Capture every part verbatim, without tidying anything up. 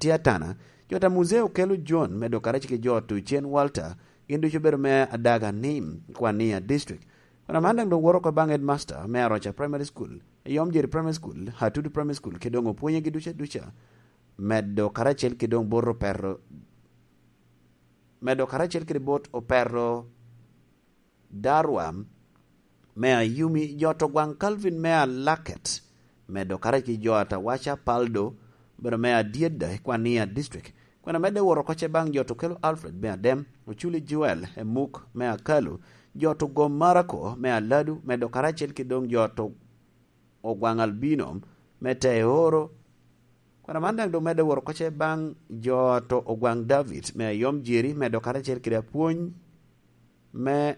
tye Atana, jo ta Muzee Okelo John, medo karacel ki jo ta Ocen Walter, gin ducu obedo me Adaga Nim, Kwania District. Kun aman daŋ doŋ woto oko baŋ headmaster me Aroca Primary School, Yom Jerry Primary School, Atudu Primary School, kede doŋ opwonye gi duca duca, medo karacel ki doŋ bot Operro, medo karacel kede bot Operro Darwa me Ayumi, jo ta Ogwaŋ Calvin me Alaket, medo karacel ki jo ta Waca Paldo, obedo me Adyedda i Kwania District. Kun amedde wot oko ce baŋ jo ta Okelo Alfred me Adem, Oculi Joel Emuk me Akalu, jo ta Ogom Marako me Aladu, medo karacel ki doŋ jo ta Ogwaŋ Albino me Teoro. Kun aman daŋ doŋ medde wot oko ce baŋ jo ta Ogwaŋ David me Ayom Jeri, medo karacel kede apwony me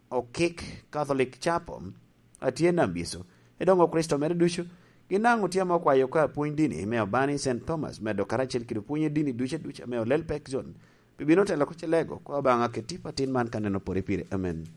Okik Catholic Chapel a tye Nambiso. I doŋ Okricito mere ducu, gin daŋ otye ame okwayo oko apwony dini me Abani Saint Thomas, medo karacel kede pwonye dini duca duca me Olel Pek Zone, pi bino telo oko ce lego kwa baŋa kede tipo atin man ka neno pore pire. Amen.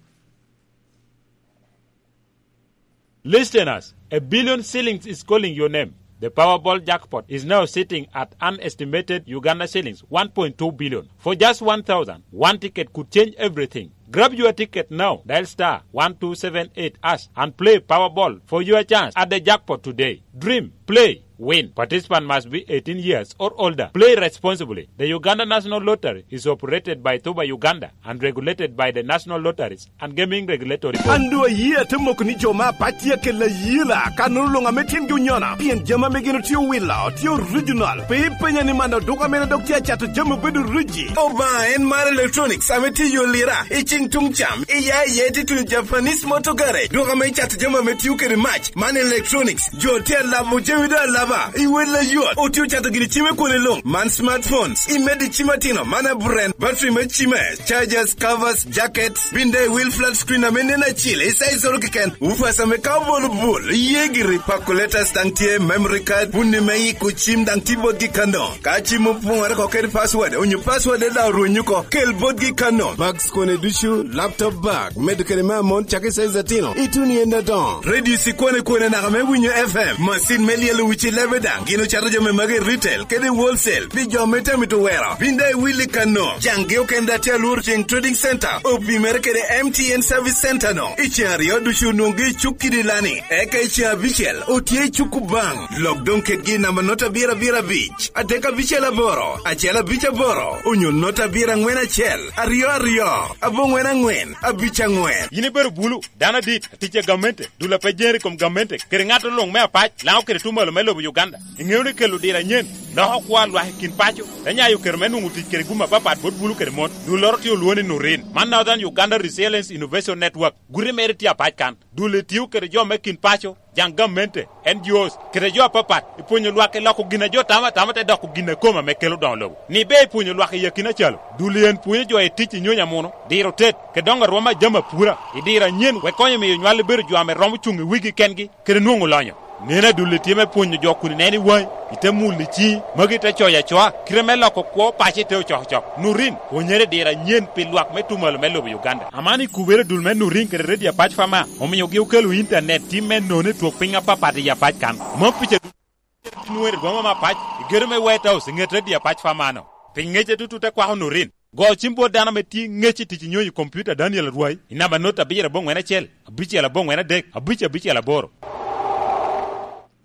Listeners, a billion shillings is calling your name. The Powerball jackpot is now sitting at an estimated Uganda shillings one point two billion. For just one thousand, one ticket could change everything. Grab your ticket now. Dial star one two seven eight hash and play Powerball for your chance at the jackpot today. Dream, play, win. Participant must be eighteen years or older. Play responsibly. The Uganda National Lottery is operated by Tuba Uganda and regulated by the National Lotteries and Gaming Regulatory Board. An doŋ ayie ate moko ni jo me apac tye akelo ayela, ka nono luŋ ame tyengi onyona, pien jami ame gin otye owilo tye original. Pe ipenya ni man oduka mene dok tye acato jami obedo riji. Obaŋa en mar electronics ame tye i yo lira, i ciŋ tuŋ cam, i ya i ya itye tuno Japanese Motor Garage, duka ame icato jami ame tio kede mac, man electronics. Jo tye alabo jami doŋ alaba, i wel ayot, otye ocato gini cime kwone luŋ, man smartphones, i medo i cim atino, man aburen, battery me cime, chargers, covers, jackets, bin daŋ i wil flat screen ame nen acil, i size oro keken, woofers ame ka obolo bul, iye giri, calculators daŋ tye, memory card, puni me iko cim daŋ tye botgi kano. Ka cim opoŋore oko kede password, onyo password daŋ orweny oko, kel botgi kano. Bags kone ducu, laptop bag, medo kede me amon cak i size atino, ituno i en adoŋo. Radio cikwane kwane naka me winyo F M, masin me lyelo wic i lebe daŋ, gin ocato jami magi i retail kede i wholesale, pi jo me tamito wero. Bin daŋ iwil i kano, caŋgi okene daŋ tye alworo ceŋ Trading Center, opimere kede M T N Service Center no. I ceŋ aryo ducu onwoŋgi i cuk kidi lani, eka i ceŋ abicel otye i cuk Kubaŋ. Lok doŋ kedgi i namba nota abiro abiro abic, adek abicel aboro, acel abic aboro, onyo nota abiro aŋwen acel, aryo aryo, aboŋwen aŋwen, abic aŋwen. Yin ibedo bulu, dano adit, atic a gamente, dul a pe jer i kom gamente, kede ŋat luŋ me apac, Laŋo kede tuŋ malo me lobo Uganda. Iŋeo ni kelo diro anyen loko kwo a lwak i kin paco, te nyayo kero me nwoŋo tic kede gum apapat bot bulu kede mon. Dulloro tye olwoŋo ni Nurin. Man Northern Uganda Resilience Innovation Network. Guti mere tye apac kan. Dul etio kede jo me kin paco, jaŋ gamente, N G Os, kede jo apapat, i pwonyo lwak i loko gin a jo tamo atama te doko gin a kome ame kelo doŋo lobo. Ni ber i pwonyo lwak i akina calo, dul en pwonyo jo i tic i nyony amuno, diro tet, kede doŋo arwom a jami apura, i diro anyen, wek konyo miyo nywal ebedo jo ame romo cuŋ i wigi kengi, kede nwoŋo lonyo. Neno adulli tye me pwonyo jo kun ineno i waŋi, ite mulo i ciŋi, magi te coyo acoa, kite me loko kwo paco ite ocokocok. Nurin, pwonyere i diro anyen pi lwak me tuŋ malo me lobo Uganda. Aman ikubere dul me Nurin kede Radio Apac Fama, omiogi okelo intanet tim me nono i twok piny apapat i Apac kan. Mom pica dul nwoŋere rwom me apac, i gedo me White House, i ŋet Radio Apac Fama no. Pi ŋece tutu te kwako Nurin. Go cim bot dano ame tye ŋec i tic i nyonyo i kompiuta Daniel Arwai i namba not abiro aboŋwen acel, abicel aboŋwen adek, abic abicel aboro.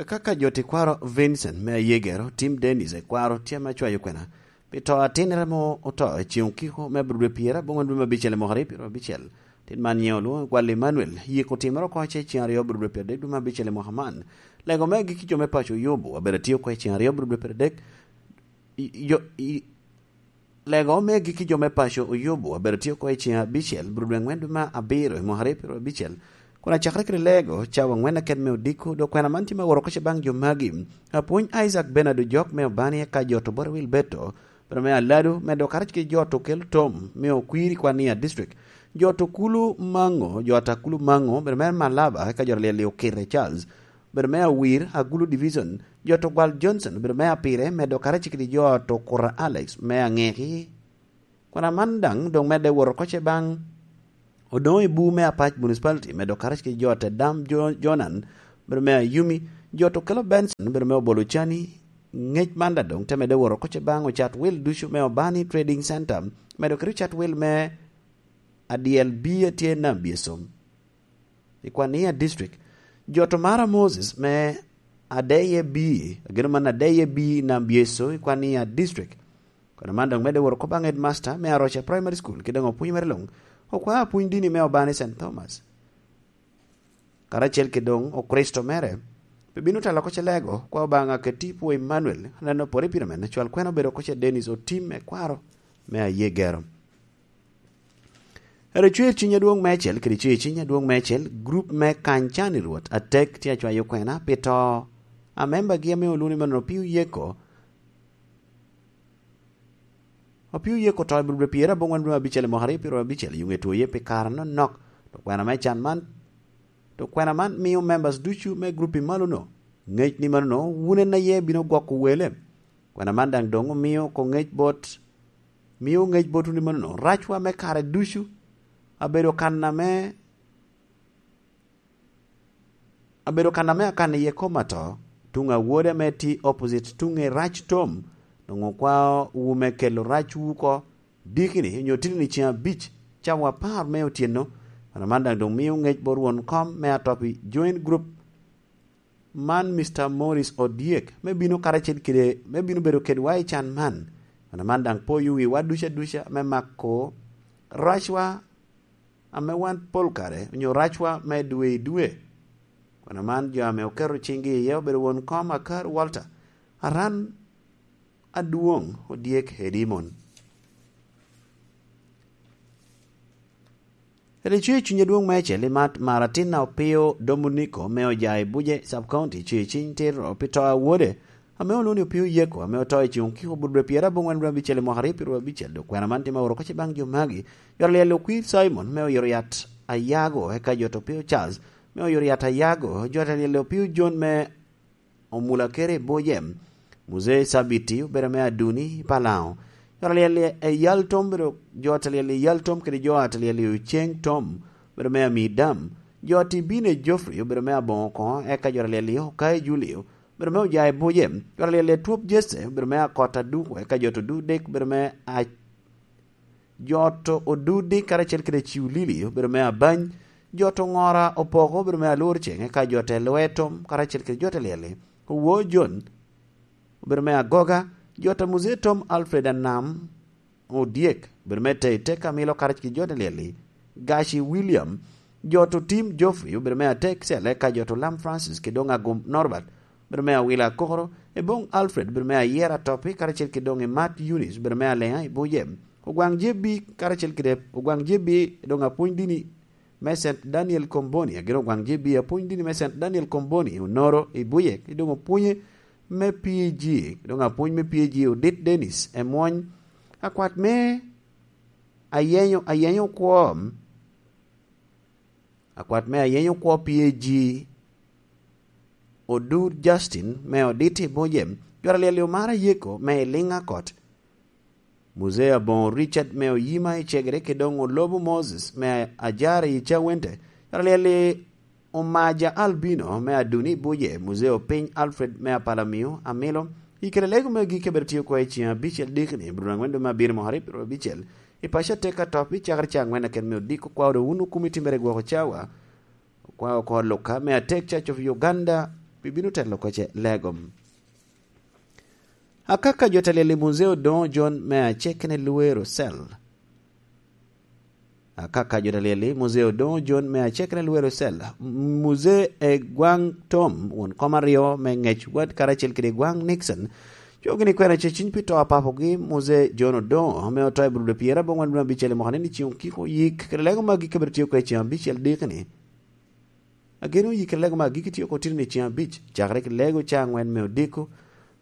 Kaka jo tekwaro Vincent me Ayegero, Tim Dennis Ekwaro tye ame acwayo kwena pi to atinnere mo oto i ceŋ okiko me aburude pyera aboŋwen dwe me abicel i mwaka aryo pyero abicel. Tin man nyiŋe olwoŋo Gwal Emmanuel, yiko otimere oko ce ceŋ aryo aburude pyero adek dwe me abicel i mwaka man. Lego me agikki jo me paco Oyobo abedo atye oko i ceŋ aryo aburude pyero adek. I- jo- i- Lego me agikki jo me paco Oyobo abedo tye oko i ceŋ abicel, bur dwe aŋwen dwe me abiro i mwaka aryo pyero abicel. Kun acakere kede lego, cawa aŋwen aket me odiko, dok kwena man tye me woro oko ce baŋ jo magi. Apwony Isaac Bernard Ojok me Obani eka jo to Bora Wil Beto, pero me Aladu, me dok karac kede jo to Kel Tom me Okwiri Kwania District, jo to Kulu Maŋo, jo ata Kulu Maŋo, pero me Malaba eka jo to Lyel Okite Charles, obedo me Awir, Agulu Division, jo to Gwal Johnson, obedo me Apire, medo karacel kede jo to Kura Alex, me Aŋeki. Kwena man daŋ doŋ medde wot oko ce baŋ Odoŋo Ebu me Apac Municipality, medo karacel kede jo te Dam Jo- Jonan, obedo me Ayumi, Jo to kelo Benson bedo me obolo cani. Ngec man da doŋ te medde woro koce baŋ ocat wil ducu me Obani Trading Center, medo kede ocat wil me adyel bi atye nam byesom i Kwania District. Jo to mara Moses me Adeye bi, ageno man Adeye bi nam byeso i Kwania District. Kono man doŋ medde woro kop aŋed master me Aroca Primary School, ki doŋ opwony mere luŋ, okwa apwony dini me Obani Saint Thomas. Karacel ki doŋ Okricito mere, pe bino telo koce lego, kwa Obaŋa keti pwo Emmanuel, aneno pore pire men, cwal kwena obedo koce Dennis Otim me kwaro, me aye gero. Ero cwer ciny adwoŋ meicel, kede cwer ciny adwoŋ meicel, grup me kany can i Rwot, atek tye acwayo kwena, pi to, a membagi ame oluni meno Opio Yeko, Opio Yeko to i bur pyera aboŋwen dwe abicel i mwaka aryo pyero abicel, yuŋ etwoye pi kare anonok, to kwena me can man, to kwena man mio members ducu me grup i malono, ŋec ni manono, wun en aye bino gwoko wele. Kwena man daŋ doŋ omio ko ŋec bot, mio ŋec bot wun i manono, racwa me kare ducu, abedo kan ame, abedo kan ame akan iye kom ato, tuŋ awode ame ti opposite tuŋ i rac tom, doŋ okwao wu me kelo racwu oko, dikini onyo titini ceŋ abic, cawa apar me otyeno. Kwena man daŋ doŋ mio ŋec bot won kom me atop i joint group man, Mister Morris Odyek, me bino karacel kede, me bino bedo kedwa i can man. Kwena man daŋ poyo wiwa duca duca me mako racwa ame wan pol kare onyo racwa me dwe i dwe. Kwena man jo ame oketo ciŋgi iye obedo won kom Akar Walter, Aran Adwoŋ Odyek Edimon. Ete cwer cuny adwoŋ meicel i mat Maratina Opio Dominiko me Ojayi Buje Sub County, cwer ciny tito pi to a wode, ame olwoŋo ni Opio Yeko, ame oto i ceŋ okiko but dwe pyera aboŋwen dwe abicel i mwaka aryo pyero abicel, dok kwena man tye ma oro koce baŋ jo magi. Jot alyel Okwir Simon me Oyoriat Ayago, eka jot Opio Charles me Oyoriat Ayago, jot alyel Opio John me Omula Kere Bojem, Muzee Sabiti obedo me Aduni i Palaŋo. Jot alyel Eyal Tom obedo, jot alyel Eyal Tom kede jot alyel Oceng Tom obedo me Amidam. Jot Ibine Geoffrey obedo me Aboŋo koŋo, eka jot alyel Okai Julio obedo me Ojayi Bojem. Jot alyel Etwop Jesse obedo me Akot Aduko, eka jot Odudek obedo me A-, jot Odudi karacel kede Ciulili obedo me Abany. Jot Oŋora Opoko obedo me Alwor Ceŋ, eka jot Elwe Tom karacel kede jot alyel-li. Owo John obedo me Agoga, jot a Muzee Tom Alfred Anam Odyek, obedo me Teitei Kamilo karacel ki jot alyel-li, Gaci William, jot Otim Geoffrey, obedo me Atek Cel, eka jot Olam Francis, ki doŋ Agum Norbert, obedo me Awila Akokoro, Eboŋ Alfred, obedo me Ayera Topi, karacel ki doŋ Imat Eunice, obedo me Aleŋa i Buje, Ogwaŋ J B, karacel kede Ogwaŋ J B, doŋ apwony dini me Saint Daniel Komboni, agin Ogwaŋ J B, apwony dini me Saint Daniel Komboni, Onoro i Buje, ki doŋ opwonye me P A G, doŋ apwony me P A G Odit Dennis Emwony, akwat me Ayenyo, Ayenyo Kwo, akwat me Ayenyo Kwo P A G Odur Justin me Odit i Buje, jot alyel Omara Yeko me Iliŋa Kot, Muzee Aboŋo Richard me Oyima i Cegere, ki doŋ Olobo Moses me Ajara i Cawente, jot alyel Omaja Albino me Aduni i Buje, Muzee Opiny Alfred me Apalamio Amilo, i kede lego me agikki a bedo tye oko i ceŋ abicel dikini, Abril aŋwen dwe me abiro mwaka aryo pyero abicel, i paco atek atop i cakere ca aŋwen aken me odiko, kwa odo wun okumi timmere gwoko cawa, kwa oko Luka me atek Church of Uganda, bibino telo koce lego. Akaka jo telyel i Muzee Odoŋo John me acekene Luero Cell. Akaka jo telyel i Muzee Odoŋo John me acekene Luero Cell. Muzee Egwaŋ Tom, won kom aryo me ŋec wad karacel kede Egwaŋ Nixon, cogi ni kwena ce ciny pi to a papogi, Muzee John Odoŋo, ame oto i Burudo pyera aboŋwen dwe abicel i mwaka ni, ni ciŋ okiko yik, kede lego magi kabedo tye oko i ceŋ abicel dikini. Ageno yikere lego me agikki tye oko titini ceŋ abic, cakere ki lego ca aŋwen me odiko.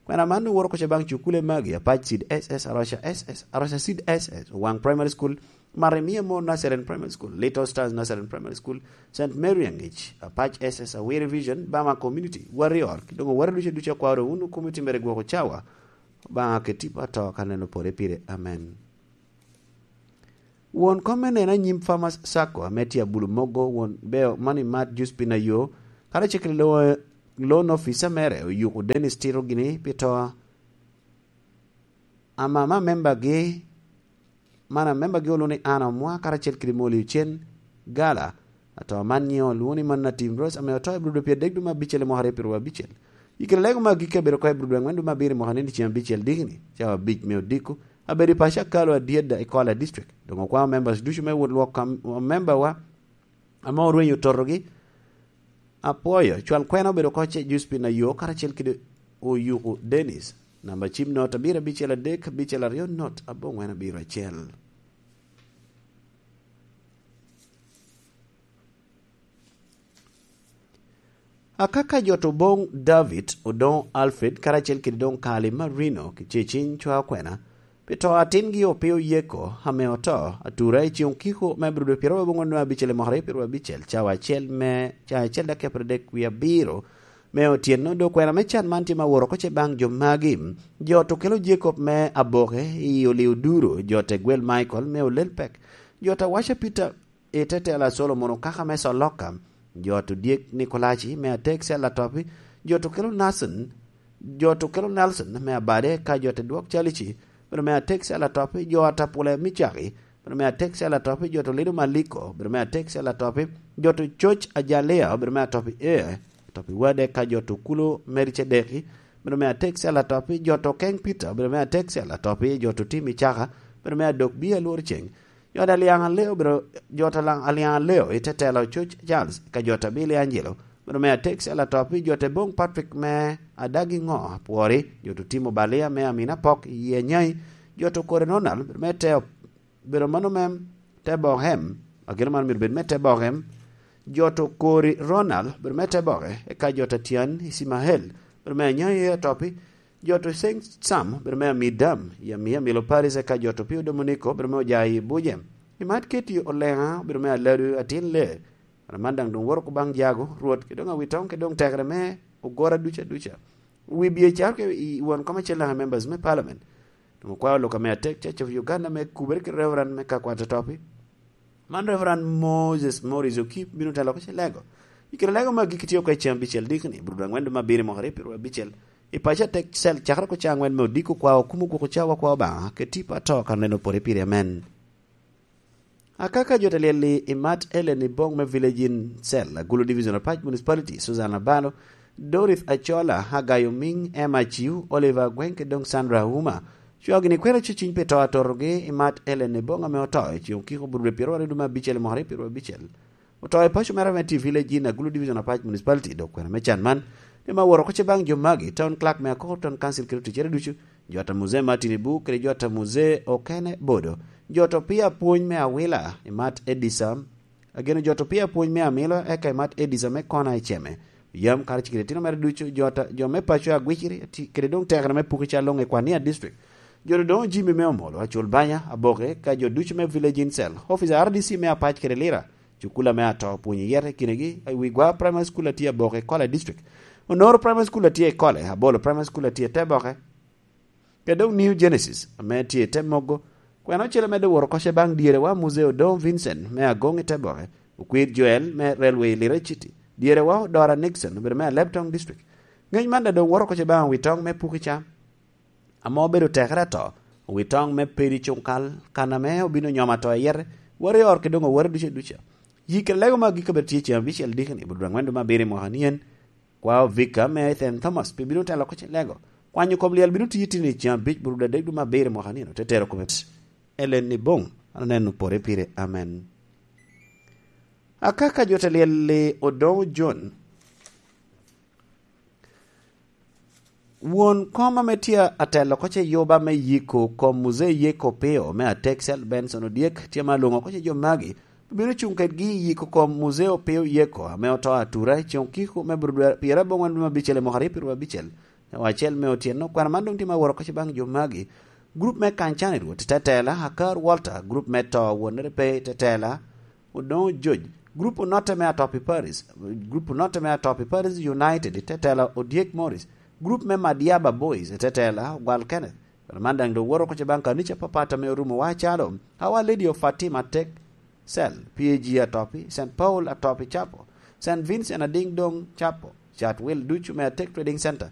Kwena man owoto oko ca baŋ cukule magi, Apac Seed S S, Aroca S S, Aroca Seed S S, Owaŋ Primary School, Maremia Mo Nazarene Primary School, Little Stars Nazarene Primary School, Saint Mary Aŋic, Apac S S, Awere Vision, Bama Community, Warrior, ki doŋ Warrior ducu ducu akwao doŋ wun okumi timmere gwoko cawa, Obaŋa keti pa to ka neno pore pire. Amen. Won kom me neno anyim Farmers Sacco ame tye Abulu Mogo, won Beo Money Mart Juice Pinayo, karacel kede Loŋo loan officer mere Oyuku Dennis tito gini pi to. Ama ma membagi, man a membagi olwoŋo ni Anna Omwa karacel kede Molly Ocen Gala. Ato man nyiŋe olwoŋo ni Manna Tim Rose ame oto i Brudo pyeradek dwe me abicel i mwaka aryo pyeradek abicel. I kare lego me agikki abedo oko i Brudo angwen dwe me abiro i mwaka ni ceng abicel dikni, cawa abic me odiko, abedo i paco akalo adyeda i Kola District. Doŋ okwao members ducu me wot lwok kam-, membawa ame orwenyo totogi. Apwoyo, cwal kwena obedo oko ce Juspin Ayo karacel kede Oyuku Dennis. Namba cim not abiro abicel adek, abicel aryo not aboŋwen abiro acel. Akaka jo to boŋ David, Odoŋo Alfred, karacel kede doŋ Kali Marino, ki Ceciny Cwa Kwena, pi to atingi Opio Yeko, ame oto, atura i ceŋ okiko me Abril dwe pyeraryo aboŋwen dwe abicel i mwaka aryo pyeradek abicel, cawa acel me, cawa acel dakika pyeradek wie abiro me otyeno. Dok kwena me can man tye ma woro oko ce baŋ jo magi. Jo to kelo Jacob me Aboke i Olio Duro, jo te gwel Michael me Olel Pek, jo ta waca Peter i tetela Solomon Okaka me Soloka, jo to dyek Nikolaci me atek cel atopi, jo to kelo Nathan, jo to kelo Nelson me Abade, ka jo te dwok Calici, bedo me atek cel atopi, jo Atapule Micaki, bedo me atek cel atopi, jo to Lido Maliko, bedo me atek cel atopi, jo to Coc Ajalia, bedo me atopi e, atopi wade, ka jo to Kulo Meri Cedeki, bedo me atek cel atopi, jo to Keng Peter, bedo me atek cel atopi, jo to Timi Caka, bedo me adok bi alwor ceng, jo ta Liaŋ Aleo, bedo, jo ta Laŋ-, Liaŋ Aleo i tetela Coc Charles, ka jo ta Billy Angelo, bedo me atek cel atopi, jo te boŋ Patrick me Adagi Ŋo Apwori, jo to Timo Balia me Amina Pok i Anyai, jo to Kore Ronald, bedo me te, bedo mano me te Bohem, ageno man myero bed me te Bohem, jo to Kori Ronald, bedo me te Boke, eka jo ta Tian Ismael, bedo me Anyai atopi, jo to Saint Sam, bedo me Amidam, i Amia Milo Paris, eka jo to Pio Dominico, bedo me Ojayi Buje. I Mat Keti Oleŋa, bedo me Aladu Atin Le. Wan man daŋ doŋ woro oko baŋ Jago, Rwot, kede doŋ Awitoŋ, kede doŋ tekere me ogora duca duca. Wi bye caro ke i won kom acel daŋ i members me parliament. Doŋ okwao lok ame atek, Church of Uganda me kubere ki Reverend me Kakwata Topi. Man Reverend Moses Morris Okip bino telo oko ce lego. I kare lego me agikki tye oko i ceng abicel dikni, Brudo angwen dwe me abiro i mwaka aryo pyeradek abicel. I paco atek cel cakere oko ca angwen me odiko kwao kumo gwoko cawa kwao Obaŋa, ke tipo ato kan reno pore pire amen. Akaka jo te lyel i Mat Ellen i boŋ me Village Inn Cell, Agulu Division of Pac Municipality, Susan Abalo, Dorith Achola, Agayo Ming, Emma Chiu, Oliver Agweng, kede doŋ Sandra Uma. Cwao gini kwena cuciny pi to atotogi i Mat Ellen i boŋ ame oto i ceŋ okiko Brudo pyeradek dwe me abicel i mwaka aryo pyeradek abicel. Oto i paco mere ame tye i Village Inn, Agulu Division of Pac Municipality, dok kwena me can man, ni ma woro oko ce baŋ jo magi, Town Clerk me Akoko Town Council kede oticcere ducu, jo ta Muzee Martin Ibu, kede jo ta Muzee Okene Bodo, jo to pii apwony me Awila, i Mat Edisa, ageno jo to pii apwony me Amilo, eka i Mat Edisa me Kona i Ceme, yam karacel kede itino mere ducu, jo ta, jo me paco Agwiciri, ati-, kede doŋ tekere me Pukica Loŋe Kwania District, jo to doŋ Jimmy me Omolo, Acul Banya, Aboke, ka jo ducu me Village Inn Cell, officer R D C me Apac kede Lira, cukula me ato pwonyo yete kinegi, i wi Gwa Primary School a tye Aboke, Kola District, Onoro Primary School a tye i Kole, Abolo Primary School a tye i Teboke, kede doŋ New Genesis ame tye i Temogo. Kwena ocele medde woro oko ce baŋ dyerewa Muzee Odongo Vincent me Agoŋ i Teboke, Okwir Joel me Railway Lira City, dyerewa Odora Nixon obedo me Alebtong District. Ŋec man daŋ doŋ woro oko ce baŋ Awitoŋ me Pukica, ame obedo tekere ato, wi toŋ me pedi cuŋkal, kan ame obino nyomo ato i yete, wot i ot kede doŋ awot ducu duca. Yik kede lego me agikki obedo tye ceŋ abicel dikni, Brudo angwen dwe me abiro i mwaka ni en. Kwao Vika me Ethan Thomas pi bino telo oko ce lego. Kwanyo kom lyel bino tiyo tini ceŋ abic Brudo adek dwe me abiro i mwaka ni en, ote tero kome. Elen ni boŋ, an oneno pore pire. Amen. Akaka jo te lyel-li Odongo John. Won kom ame tye atelo oko ce yuba me yiko kom Muzee Yeko Opio me Atek Cel Benson Odyek tye ma lwoŋo oko ce jo magi, obino cuŋ kedgi i yiko kom Muzee Opio Yeko ame oto atura i ceŋ okiko me Brudo pyerabongwen dwe me abicel i mwaka aryo pyeradek abicel, nyawa acel me otyeno. Kwena man doŋ tye ma woro oko ce baŋ jo magi. Grup me Kancani Rwot tetela, Akar Walter, grup me to wonnere pe tetela, Odongo George, grup onotte me Atopi Paris, grup onotte me Atopi Paris United, tetela Odyek Morris, grup me Madiaba Boys, tetela Ogwal Kenneth. Kare man daŋ doŋ woro oko ce baŋ kanica papat ame orumo wa calo Our Lady of Fatima Tek Cell, P A G Atopi, Saint Paul Atopi Chapel, Saint Vincent Ading Dong Chapel, cat wil ducu me Atek Trading Center.